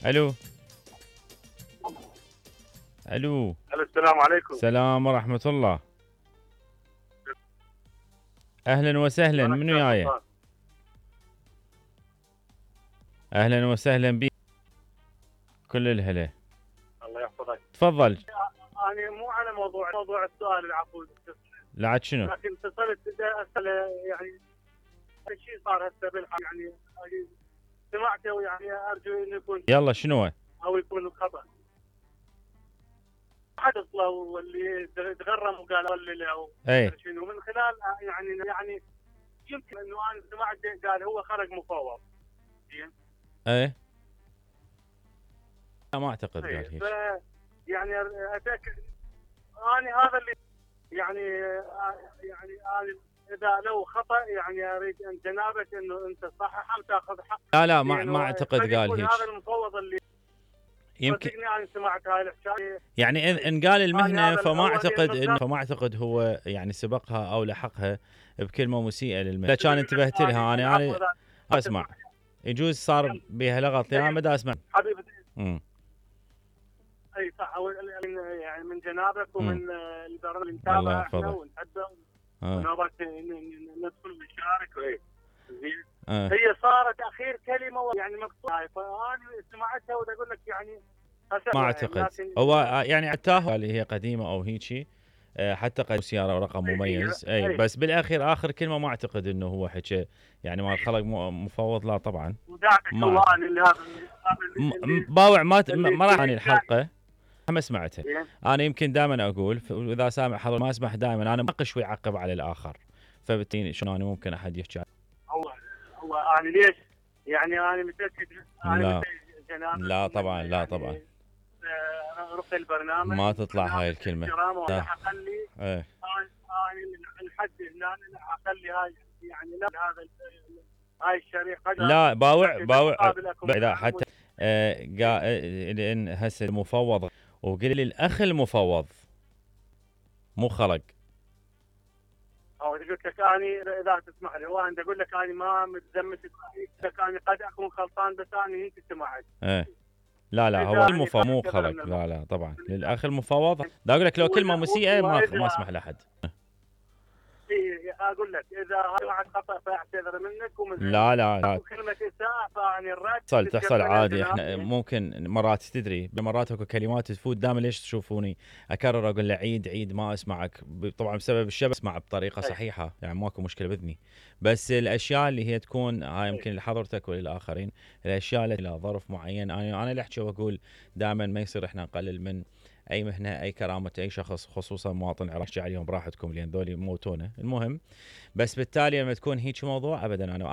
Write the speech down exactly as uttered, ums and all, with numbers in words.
الو الو الو السلام عليكم. السلام ورحمة الله. اهلا وسهلا، منو وياي؟ اهلا وسهلا بك، كل الهلا. الله يحفظك. تفضل. انا مو على موضوع موضوع السؤال العفو، لا عاد شنو؟ لكن اتصلت اسال يعني شيء صار هسه بالحق، يعني سمعته يعني ارجو انه يكون يلا شنو؟ او يكون خطا. حدث له واللي تغرم وقال ولي او شنو من خلال يعني يعني يمكن انه انا سمعت قال هو خرج مفوض. زين؟ ايه لا ما اعتقد قال هيك. يعني اتاكد انا هذا اللي يعني يعني انا اذا لو خطا يعني اريد ان جنابك انه انت تصححه وتاخذ حق. لا لا ما ما اعتقد قال هيك. هذا المفوض اللي يمكن انا سمعت هاي الحكايه، يعني ان قال المهنه فما اعتقد انه فما اعتقد هو يعني سبقها او لحقها بكلمه مسيئه للمهنه. كان انتبهت لها انا انا اسمع، يجوز صار بها لغط انا ما دا اسمع حبيبي. امم اي صح، يعني من جنابك ومن البرنامج اللي الله نتابعه احنا يحفظك ونحبه آه. ونبغى ندخل ونشارك. زين آه. هي صارت اخير كلمه يعني مقطوعه، فانا سمعتها ودا اقول لك يعني ما اعتقد هو يعني عتاه اللي هي قديمه او هيجي حتى قد سياره ورقم مميز. اي, أي بس بالاخير اخر كلمه ما اعتقد انه هو حكى يعني ما خلق مفوض، لا طبعا. ما باوع ما ما راح اني الحلقه ما سمعتها. انا يمكن دائما اقول واذا سامع حضر ما اسمح دائما انا مناقش ويعقب على الاخر، فبالتالي شلون انا ممكن احد يحكي هو هو انا ليش يعني انا متاكد لا لا طبعا لا طبعا رقي البرنامج ما تطلع هاي الكلمه. لا اخلي ايه انا من الحد هنا اخلي هاي يعني لا هذا هاي الشريحه لا باوع باوع اذا حتى آه لان هسه المفوض وقل لي الاخ المفوض مو خلق او قلت لك انا اذا تسمح لي وانا اقول لك انا ما متزمت لك انا قد اكون غلطان بس انا هيك سمعت. ايه لا لا هو المفوض مو خلق، لا لا طبعا للاخ المفوض. دا اقول لك لو كلمه مسيئه ما ما اسمح لاحد. اي اقول لك اذا هذا خطا فاعتذر منك ومن لا لا لا كلمه اساءه فاني الرد تحصل تحصل عادي. احنا ممكن مرات تدري مرات اكو كلمات تفوت دائما ليش تشوفوني اكرر اقول له عيد عيد ما اسمعك طبعا بسبب الشبه اسمع بطريقه صحيحه يعني ماكو مشكله باذني، بس الاشياء اللي هي تكون هاي يمكن لحضرتك وللاخرين الاشياء اللي لها ظرف معين انا انا اللي احكي واقول دائما ما يصير احنا نقلل من اي مهنه اي كرامه اي شخص خصوصا مواطن عراقي عليهم براحتكم لان ذولي موتونا المهم، بس بالتالي لما تكون هيك موضوع ابدا انا